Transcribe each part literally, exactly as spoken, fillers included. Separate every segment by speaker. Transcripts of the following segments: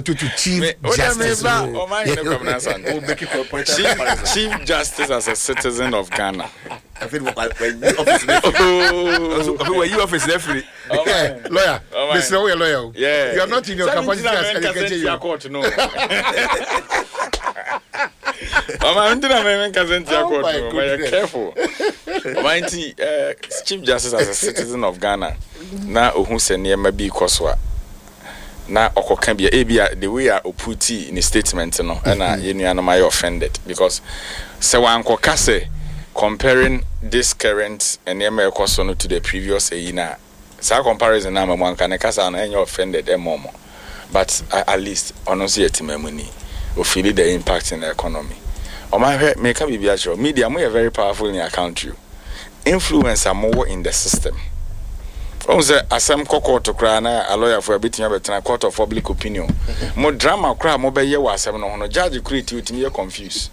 Speaker 1: to to Chief
Speaker 2: Me- o de
Speaker 1: Justice.
Speaker 2: meba
Speaker 1: o.
Speaker 2: Ɔmanhene Kwabena Asante.
Speaker 3: We'll make it for a point of
Speaker 2: Chief,
Speaker 3: comparison.
Speaker 2: Chief Justice as a citizen of Ghana.
Speaker 3: Afei de wɔyi office ne
Speaker 2: Oh.
Speaker 3: afei wɔyi office ne firi.
Speaker 1: Yeah, lawyer.
Speaker 2: Ɔman.
Speaker 1: Mister Oye, lawyer o.
Speaker 2: Yeah.
Speaker 1: You are not in your
Speaker 2: Sɛ
Speaker 1: capacity
Speaker 2: mi
Speaker 1: as
Speaker 2: ntina mɛ nkasa
Speaker 1: educator.
Speaker 2: ntia court no. Ɔman ntina mɛ nkasa ntia
Speaker 1: Oh
Speaker 2: court
Speaker 1: my
Speaker 2: no. Ɔman yɛ
Speaker 1: goodness.
Speaker 2: careful. Ɔman nti eh, Chief Justice as a citizen of Ghana na ohun sɛ nneɛma bi kɔ so a na ɔkɔka bia, ebi a the way a oputi ne statement no, ɛna yɛn nuanom ayɛ offended because sɛ wankɔka sɛ comparing this current nneɛma a ɛkɔ so no to the previous eyi na saa comparison na ama mu anka ne kasa no ɛnyɛ offended ɛmɔ mo, but uh, at least ɔno nso yɛ temamuni, ofeeli the impact in the economy. Ɔman, hwɛ, meka biribi akyerɛ wo. Media mo yɛ very powerful in your country o. Influence a mowɔ in the system, ɔhu sɛ asɛm kɔ court koraa na alɔyafoɔ a bɛtumi abɛtena court of public opinion mo drama koraa a mobɛyɛ wɔ asɛm no ho no, judge kora ti otumi yɛ confused.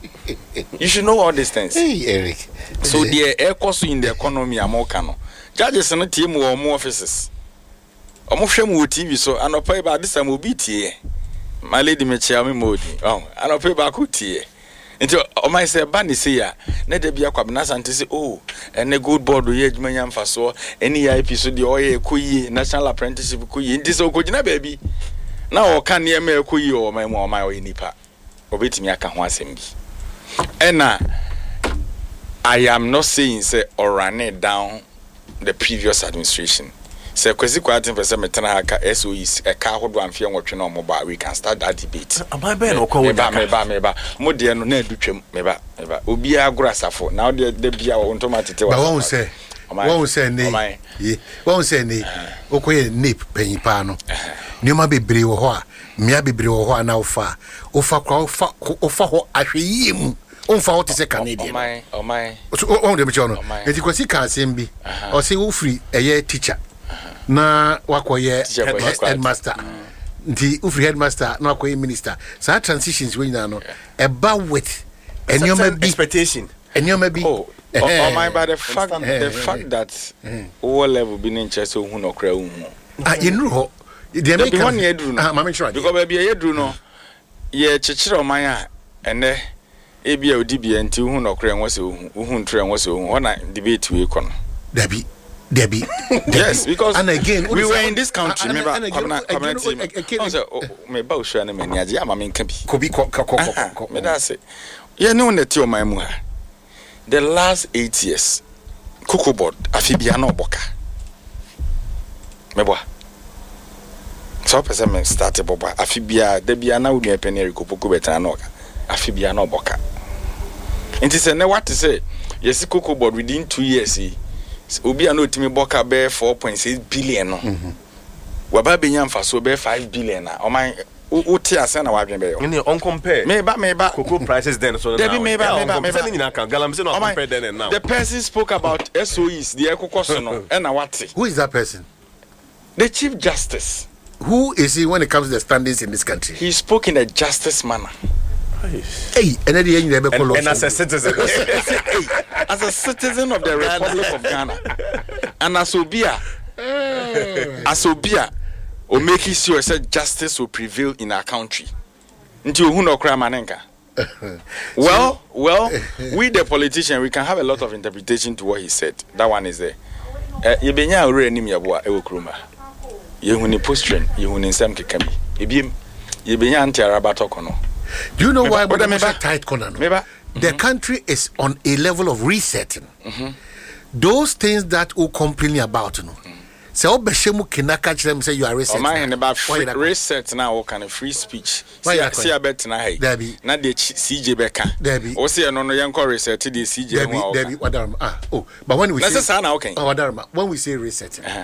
Speaker 2: You should know all these things.
Speaker 1: Hey, Eric.
Speaker 2: So deɛ ɛkɔ so in the economy a moka no, judges no tie mu wɔ ɔmo offices, ɔmo hwɛ mu wɔ T V so. Anɔpa yi ba adesam obi tie, my lady, mekyia me ma odi ɔn anɔpa yi baako tie. Nti ɔman sɛ ɛba ne sei a na da bi Akwabena Asante sɛ, oh, ɛne Gold Board yɛ adwuma nya mfasoɔ, ɛne E I P so deɛ ɔyɛ ɛkɔ yie, national apprenticeship kɔ yie. Nti sɛ ɔkɔgyina baabi na ɔka nneɛma a ɛkɔ yie wɔ ɔman mu a, ɔman ɔyɛ nipa, ɔbɛtumi aka ho asɛm bi. Ɛna I am not saying sɛ ɔrun down the previous administration. Sɛ Kwasi Kwarteng pɛ sɛ metena ha ka S O Es ɛka ahodoɔ amfeɛ nwɔtwe na ɔmo ba, we can start that debate.
Speaker 3: Aban bɛyɛ na ɔkɔ wo
Speaker 2: Meba.
Speaker 3: daka.
Speaker 2: Meba, meba, mo deɛ no na adu twam. Meba, meba, obiara agorɔ asafo na wodeɛ da bia wo ntoma tete wɔ
Speaker 1: Ba wɔn
Speaker 2: asafo.
Speaker 1: sɛ
Speaker 2: Ɔman-
Speaker 1: wɔn sɛ ne
Speaker 2: ɔman.
Speaker 1: ye wɔn sɛ ne wokɔyɛ NEIP panyin paa no, nneɛma bebree wɔ hɔ a mmea bebree wɔ hɔ a na wofa a wofa kora wofa wofa hɔ ahwɛ yie mu, womfa hɔ te sɛ kane deɛ no.
Speaker 2: Ɔman, ɔman.
Speaker 1: So wɔn deɛ mekyerɛ no.
Speaker 2: Ɔman.
Speaker 1: Nti Kwasi ka asɛm bi, ɔsɛ wofiri ɛyɛ teacher na wakɔyɛ
Speaker 2: Teacher kɔ
Speaker 1: head-
Speaker 2: head-
Speaker 1: headmaster, nti wofiri headmaster na wakɔyɛ minister. Saa transitions wei nyinaa no ɛba with nneɛma bi
Speaker 3: Expectation.
Speaker 1: Nneɛma bi.
Speaker 2: Oh,
Speaker 1: Ɛhɛn.
Speaker 2: ɔman, by the fact the fact that wowɔ level bi ne nkyerɛ sɛ wohu nɔkora wohu.
Speaker 1: Ah, yɛnuru hɔ deɛ.
Speaker 2: Dabi,
Speaker 1: Meka
Speaker 2: hɔ ne yɛduru no.
Speaker 1: Ah, maame nkyerɛ adeɛ.
Speaker 2: Because baabi a yɛduru no, yɛkyekyere ɔman a ɛnɛ ebi a odi bia nti wohu nɔkora ɛnwɔ sɛ wohu, wohu ntoro ɛnwɔ sɛ wohu. Hɔ na debate wei kɔ no.
Speaker 1: Dabi, dabi.
Speaker 2: Yes, because
Speaker 1: and again
Speaker 2: we were in this country.
Speaker 1: And-
Speaker 2: Meba
Speaker 1: and again,
Speaker 2: Kwabena, Kwabena
Speaker 1: again,
Speaker 2: team
Speaker 1: again,
Speaker 2: ɔn sɛ o- o- meba osua no m'ani agye ama menka bi.
Speaker 1: Kobi, kɔ kɔ kɔ
Speaker 2: Aha,
Speaker 1: kɔ kɔ.
Speaker 2: Meda ase. Yɛne wo na ɛte ɔman mu ha. The last eight years, Cocoa Board afe bia na ɔbɔ ka. Meboa sɛ wopɛ sɛ me start bɔbɔ a, afe bia da bia na wo nua pani Eric Opoku bɛtena na ɔka afe bia na ɔbɔ ka. Nti sɛ nɛ wate sɛ yɛsi Cocoa Board within two years yi, sɛ obi a na ɔtumi bɔ ka bɛyɛ four point six billion no waba bɛnya mfasoɔ bɛyɛ five billion a, ɔman wo- wote asɛn na wadwen bɛyɛ wo.
Speaker 3: Ɛne ɔncompare
Speaker 2: Meba, meba.
Speaker 3: Cocoa prices then so
Speaker 2: Dabi,
Speaker 3: now.
Speaker 2: meba,
Speaker 3: Yeah,
Speaker 2: meba,
Speaker 3: ɔncompare.
Speaker 2: meba.
Speaker 3: Sɛ ne nyinaa ka galamsey no
Speaker 2: Ɔman,
Speaker 3: compare then and now.
Speaker 2: The person spoke about S O Es deɛ ɛkokɔ so no, ɛna wate.
Speaker 1: Who is that person?
Speaker 2: The Chief Justice.
Speaker 1: Who is he when it comes to the standings in this country?
Speaker 2: He spoke in a justice manner.
Speaker 1: Hey, ɛnɛ de yɛn nyinaa bɛkɔ
Speaker 3: and,
Speaker 1: law
Speaker 3: and as a
Speaker 1: school.
Speaker 3: citizen.
Speaker 2: As a citizen of the Republic of Ghana and as obi a as obi a o make sure sɛ justice will prevail in our country. Nti ohun na ɔkora ma ne nka. well well we the politician, we can have a lot of interpretation to what he said. That one is there. uh, yɛbɛnya owura anim yɛboa ɛwɔ kurom ha, yɛhu ne posturing, yɛhu ne nsɛm keka bi. Ebiem yɛbɛnya ante araba tɔkɔ no.
Speaker 1: Do you know
Speaker 2: Meba-
Speaker 1: why
Speaker 2: Oda,
Speaker 1: we
Speaker 2: meba.
Speaker 1: tight corner no?
Speaker 2: Meba.
Speaker 1: The country is on a level of resetting. Those things that we complain about no, sɛ wobɛhyɛ mu kena ka kyerɛ m sɛ you are resetting.
Speaker 2: Ɔman hene ba,
Speaker 1: Why
Speaker 2: free,
Speaker 1: you that-
Speaker 2: reset na wɔka no, free speech.
Speaker 1: Why you that
Speaker 2: si abɛtena ha yi
Speaker 1: Dabi.
Speaker 2: na deɛ Ch- C J bɛka
Speaker 1: Dabi.
Speaker 2: wo sɛ ɛno no yɛnkɔ reset deɛ C J
Speaker 1: Debbie,
Speaker 2: ho a
Speaker 1: Debbie,
Speaker 2: wɔka.
Speaker 1: Wadarama. Ah, oh, but when we
Speaker 2: Na
Speaker 1: say
Speaker 2: sɛ saa na woka yi.
Speaker 1: Oh, Wadarama, when we say resetting,
Speaker 2: Uh-huh.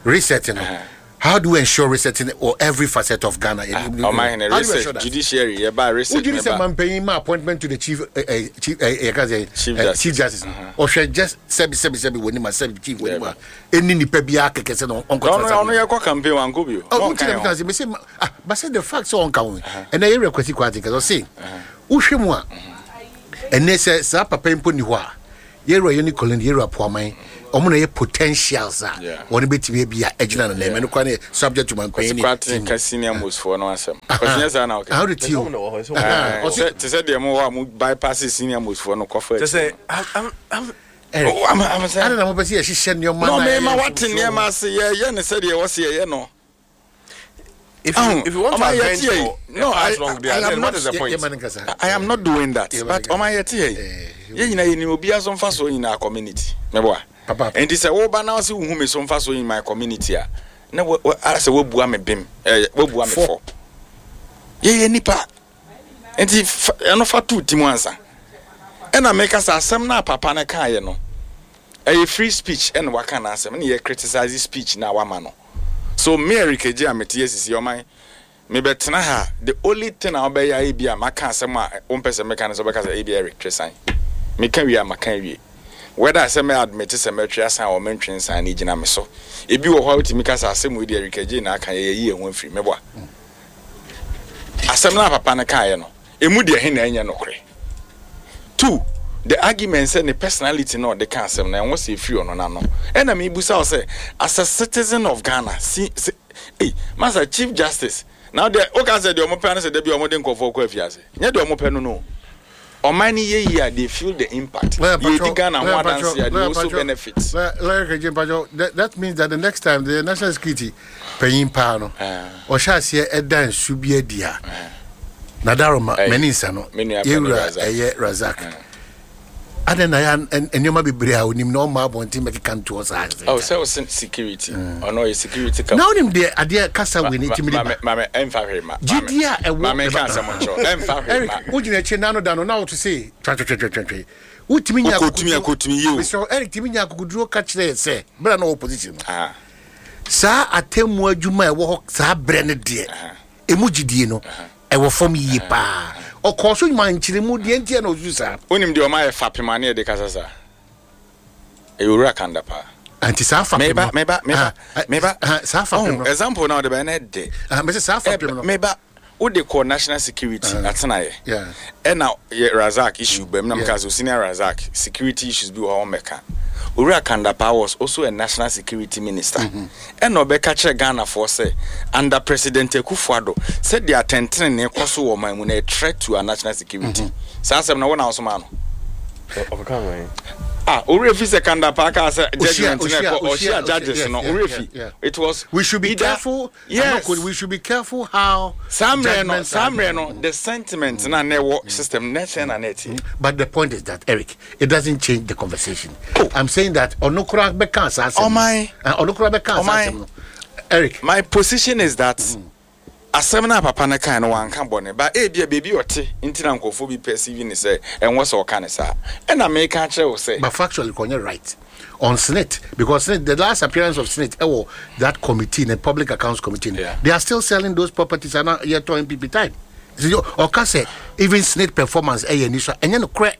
Speaker 1: resetting,
Speaker 2: Uh-huh.
Speaker 1: how do we ensure resetting or every facet of Ghana?
Speaker 2: Ɔman hene,
Speaker 1: How do we ensure
Speaker 2: reset
Speaker 1: that?
Speaker 2: judiciary, yɛba reset
Speaker 1: Would you say
Speaker 2: meba.
Speaker 1: mampanyin ma appointment to the chief, uh, uh, chief, uh, uh, uh,
Speaker 2: Chief
Speaker 1: uh,
Speaker 2: Justice.
Speaker 1: Chief Justice? Ɔhwɛ just sɛbi sɛbi sɛbi wɔ nim a sɛbi chief wɔ nim a ɛni nipa biara kɛkɛ sɛ na ɔnkɔ.
Speaker 2: Ɔno ɔno yɛkɔ campaign wankɔ bio.
Speaker 1: Oh,
Speaker 2: Na
Speaker 1: nti
Speaker 2: ɔnka
Speaker 1: na
Speaker 2: yɛn ho.
Speaker 1: meka sɛ mese ma- ah, but say the fact sɛ ɔnka ho ɛnɛ yɛwerɛ Kwasi Kwarteng kɛ ɔse wohwɛ mu a, ɛnɛ sɛ saa papa yi mpo ni hɔ a Yɛwura Yonny Kulendi, yɛwura Pwamang, ɔmo na yɛ potentials a
Speaker 2: Yeah.
Speaker 1: wɔn bɛtumi bi a ɛgyina no nan ɛno kora ne yɛ subject to
Speaker 2: Kwasi
Speaker 1: mampanyin
Speaker 2: Kwarteng ka senior most foɔ no asɛm. Kwasi nyɛ saa na ɔka.
Speaker 1: How de ti o?
Speaker 3: Ɛsɛ ɔmo na wɔ hɔ, ɛsɛ ɔmo
Speaker 2: Eh,
Speaker 3: na wɔ hɔ.
Speaker 2: sɛ- te sɛ deɛ mowɔ a mo bypass senior most foɔ no kɔfa
Speaker 3: Kyɛ sɛ I'm- I'm- I'm-
Speaker 1: Eric,
Speaker 2: Oh, I'm- I'm saying-
Speaker 1: ade na mopɛ sɛ yɛhyehyɛ nneɛma
Speaker 2: no
Speaker 1: na
Speaker 2: mema
Speaker 1: yɛyɛ
Speaker 2: wate
Speaker 1: mfomsoɔ.
Speaker 2: nneɛma ase, yɛyɛ ne sɛdeɛ ɛwɔ sɛ yɛyɛ no.
Speaker 3: If you,
Speaker 2: Oh,
Speaker 3: if you want to
Speaker 2: Oma,
Speaker 3: avenge
Speaker 2: yɛte yɛ.
Speaker 3: for
Speaker 2: No,
Speaker 3: a past
Speaker 2: I-
Speaker 3: wrong
Speaker 2: I-
Speaker 3: there,
Speaker 2: I am
Speaker 3: then
Speaker 2: not-
Speaker 3: what is the
Speaker 1: Yɛ-
Speaker 3: point?
Speaker 1: yɛma no nkasa.
Speaker 2: I am not doing that,
Speaker 1: Yeah,
Speaker 2: but
Speaker 1: but-
Speaker 2: ɔma yɛte yɛ
Speaker 1: Eh,
Speaker 2: yɛn nyinaa yɛnim obiara so mfa so nyinaa community mɛboa.
Speaker 1: Papa.
Speaker 2: Nti sɛ woba na wosɛ wohu me so mfa so in my community a, na wo- wo- ara sɛ woabua me bem, eh, woabua me
Speaker 1: Fɔ.
Speaker 2: fɔ. Yɛyɛ nipa nti fa- ɛno fa too ti mu ansa. Ɛna meka sɛ asɛm no a papa no kaeɛ no, ɛyɛ free speech, ɛna waka n'asɛm ne yɛ criticize speech na wama no. So me, Eric Agye, a mete asisi ɔman mebɛtena ha, the only thing a wobɛyɛ ayɛ bi a maka asɛm a wompɛ sɛ meka no sɛ wobɛka sɛ ebi Eric twe san. Meka wie a, maka wie. Whether sɛ mɛ admit sɛ mɛtwe asan a ɔmentwe nsan no gyina me so. Ebi wɔ hɔ a wotumi ka sɛ asɛm wei de, Eric Agye na aka, yɛyɛ yi ɛho afiri mɛboa. Asɛm no a papa no kaeɛ no, emu deɛ he na ɛnyɛ nokorɛ? Two, the argument sɛ ne personality na ɔde ka asɛm no ɛnwɔ sɛ ɛfiri ɔno n'ano. Ɛna mebusa wo sɛ, as a citizen of Ghana, si si ei, masa Chief Justice na deɛ woka sɛ deɛ ɔmo pɛ no sɛ da bi ɔmo de nkɔfoɔ kɔ afiase, nyɛ deɛ ɔmo pɛ no no ɔman no yɛ yie a, they feel the impact.
Speaker 1: Lawyer
Speaker 2: yɛdi
Speaker 1: Pacho,
Speaker 2: Ghana ho
Speaker 1: Lawyer
Speaker 2: adanse
Speaker 1: Pacho,
Speaker 2: a, they
Speaker 1: Lawyer
Speaker 2: also
Speaker 1: Pacho,
Speaker 2: benefit.
Speaker 1: Lawyer Lawyer Kejin Pacho, that, that means that the next time the national security panyin paa no
Speaker 2: Ah.
Speaker 1: ɔhyɛ aseɛ ɛda nsu bi adi a, nadaroma
Speaker 2: Ɛy,
Speaker 1: m'ani nsa no
Speaker 2: me nua panyin
Speaker 1: yɛwura
Speaker 2: Razak.
Speaker 1: ɛyɛ Razak adɛn na yɛ an- nneɛma bebree a onim na ɔma abɔnten bɛkeka ntoɔ saa?
Speaker 2: Oh, sɛ wo se security, ɔno ɔyɛ security
Speaker 1: Na wonim deɛ adeɛ kasa wei ne timi de ba?
Speaker 2: Mame ɛmfa hwee ma.
Speaker 1: Gyidie a ɛwɔ
Speaker 2: Mame nka asɛm nkyerɛ, ɛmfa hwee
Speaker 1: Eric,
Speaker 2: ma.
Speaker 1: wogyina akyi nano da no na woto se twatwatwatwatwe wotumi nya
Speaker 2: Wokɔtumi a, kɔtumi yi o.
Speaker 1: Mesrɛ wo, Eric tumi nya akokoduro ka kyerɛ yɛ sɛ berɛ a na ɔwɔ position no,
Speaker 2: Ah,
Speaker 1: saa atemmu adwuma a ɛwɔ hɔ saa berɛ no deɛ, ɛmu gyidie no ɛwɔ fam yie paa. Ɔkɔɔ so ma nkyerɛmu deɛ ntiɛ na ɔsusu saa.
Speaker 2: Wonim deɛ ɔma yɛ fapem a ne yɛde kasa saa, ɛyɛ owura Kanda paa.
Speaker 1: Anti saa fapem
Speaker 2: meba
Speaker 1: no
Speaker 2: meba meba
Speaker 1: Ah,
Speaker 2: meba.
Speaker 1: ah, saa fapem
Speaker 2: Oh,
Speaker 1: no
Speaker 2: example na ɔde bɛyɛ ne de.
Speaker 1: Ah, mɛsɛ saa fapem no.
Speaker 2: Meba, wode kɔ national security atenaeɛ.
Speaker 1: Yeah.
Speaker 2: Ɛna yɛ Razak issue bɛm na
Speaker 1: Yeah.
Speaker 2: meka sɛ senior Razak security issues bi wɔ hɔ ɔmmɛka. Owura Kandapa was also a national security minister, ɛna ɔbɛka kyerɛ Ghanafoɔ sɛ under President Akufo-Addo, sɛdeɛ atɛntenene kɔ so wɔ ɔman mu na a threat to our national security. Saa asɛm na wo na wosoma no.
Speaker 3: Ɔkɔka wɔn.
Speaker 2: Ah, owura fi sɛ Kandapa kaa sɛ
Speaker 1: Ohyia,
Speaker 2: judgment na
Speaker 1: ohyia,
Speaker 2: ɛkɔ
Speaker 1: ohyia,
Speaker 2: ɔhyia judges
Speaker 1: yes,
Speaker 2: no.
Speaker 1: yeah,
Speaker 2: Owura
Speaker 1: yeah,
Speaker 2: fi
Speaker 1: yeah.
Speaker 2: it was
Speaker 1: We should be
Speaker 2: either-
Speaker 1: careful. I'm
Speaker 2: Yes.
Speaker 1: not good. We should be careful how
Speaker 2: Saa mmerɛ no
Speaker 1: judgments
Speaker 2: saa
Speaker 1: are-
Speaker 2: mmerɛ no, the sentiment na na ɛwɔ system na ɛsɛn na na ɛteɛ.
Speaker 1: But the point is that, Eric, it doesn't change the conversation.
Speaker 2: Oh.
Speaker 1: I'm saying that ɔno koraa bɛka saa asɛm no.
Speaker 2: Ɔman.
Speaker 1: Ah, ɔno koraa bɛka saa
Speaker 2: Ɔman.
Speaker 1: asɛm no. Eric,
Speaker 2: My position is that asɛm no a papa no kae no, wanka bɔne ba. Ebia baabi ɔte nti na nkurɔfoɔ bi perceive ne sɛ ɛnwɔ sɛ ɔka ne saa. Ɛna meka kyerɛ wo sɛ
Speaker 1: but factually, kɔnyɛ right on SSNIT, because SSNIT, the last appearance of SSNIT, ɛwɔ that committee, the Public Accounts Committee,
Speaker 2: Yeah.
Speaker 1: they are still selling those properties and yɛtɔ N P P time. Ɔka sɛ even SSNIT performance ɛyɛ ni so, ɛnyɛ no korɛ.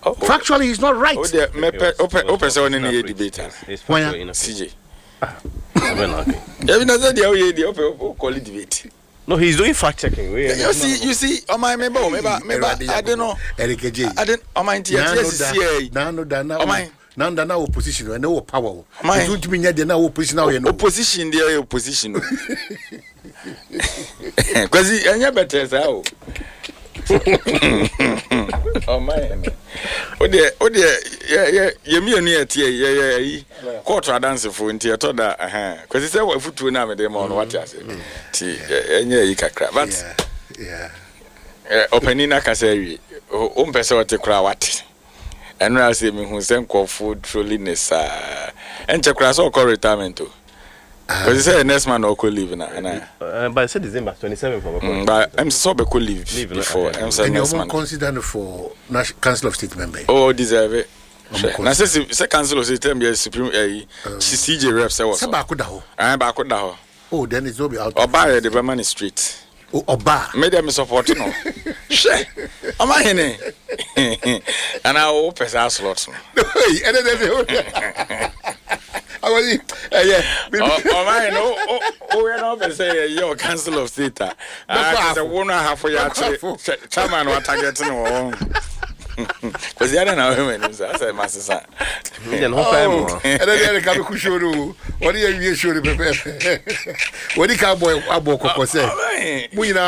Speaker 2: Oh, oh.
Speaker 1: Factually, he's not right.
Speaker 2: Wo deɛ mɛpɛ wopɛ wopɛ sɛ wo ne no yɛ debate a.
Speaker 3: It's
Speaker 1: Why,
Speaker 3: factually inaccurate.
Speaker 2: C J.
Speaker 3: Abɛ na okay.
Speaker 2: Yɛbi na sɛ deɛ woyɛ deɛ wopɛ wokɔle debate.
Speaker 3: No, he's doing fact checking. We-
Speaker 2: you see you see ɔman, meba o, meba, meba ade no.
Speaker 1: Eric Ejay.
Speaker 2: Ade ɔman nti yɛte asisi yɛ yi.
Speaker 1: Nano da na
Speaker 2: Ɔman.
Speaker 1: nano da na opposition ɛne wɔ power o.
Speaker 2: Ɔman.
Speaker 1: Nti ntumi nyɛ deɛ na opposition na ɔyɛ no.
Speaker 2: Opposition deɛ yɛ opposition o. Kwasi, ɛnyɛ bɛtɛ saa o. Ɔman no o deɛ o deɛ yɛ yɛ yɛ mmienu yɛ teɛ yɛ yɛ ayi kɔɔto adansefoɔ nti ɛtɔ da ɛhɛn. Kwasi, sɛ wɔ afutuo no a mede ma ɔno, wate ase nti ɛ- ɛnyɛ ayi kakra, but
Speaker 1: Yeah, yeah.
Speaker 2: ɛ, ɔpanin no akasa awie. O mpɛ sɛ ɔte koraa, wate. Ɛno a sɛ mehu sɛ nkɔfoɔ troli ne saa, ɛnkyɛ koraa sɛ ɔkɔ retirement o. Kwasi, sɛ next man na ɔkɔ leave na ana?
Speaker 3: Uh, but I said December twenty-seven for
Speaker 2: Mm, but ɛm sɛ sɛ ɔbɛkɔ leave
Speaker 3: Leave, no,
Speaker 2: before
Speaker 3: okay.
Speaker 2: ɛm sɛ
Speaker 1: And
Speaker 2: next
Speaker 1: you
Speaker 2: man.
Speaker 1: consider no for National Council of State member.
Speaker 2: Oh, deserve it.
Speaker 1: Ɔmo
Speaker 2: Hwɛ, na sɛ sɛ sɛ council of state term yɛ supreme ɛyi C J rep sɛ wɔ
Speaker 1: Sɛ
Speaker 2: so.
Speaker 1: baako da hɔ.
Speaker 2: Ɛn, baako da hɔ.
Speaker 1: Oh, then it's not be out.
Speaker 2: Ɔbaa yɛ de bɛma ne straight.
Speaker 1: Oh, ɔbaa.
Speaker 2: Me deɛ, me support no. Hwɛ, ɔma hene anaa wopɛ saa slot no?
Speaker 1: Hey, ɛnɛ dɛ dɛ. Awɔsi ɛyɛ.
Speaker 2: Ɔ- ɔma hene woyɛ na wopɛ sɛ yɛyɛ ɔ council of state a, ah,
Speaker 1: Bɛkɔ
Speaker 2: kyerɛ sɛ
Speaker 1: afo.
Speaker 2: wo no ahafo yɛ
Speaker 1: Bɛkɔ
Speaker 2: akyere
Speaker 1: afo.
Speaker 2: chairman wa target no wɔ hɔ. Kwasi, ada na ɔhwɛ m'anim sɛ asɛ masesa.
Speaker 3: Ɛnna ne ho pɛɛ mu.
Speaker 1: Ɛnɛ deɛ ɛde ka bɛku show no o. Wɔde yɛ wie show no pɛpɛɛpɛ. Wɔde ka abɔ abɔ kɔkɔ sɛ
Speaker 2: Ɔbɛn.
Speaker 1: mo nyinaa.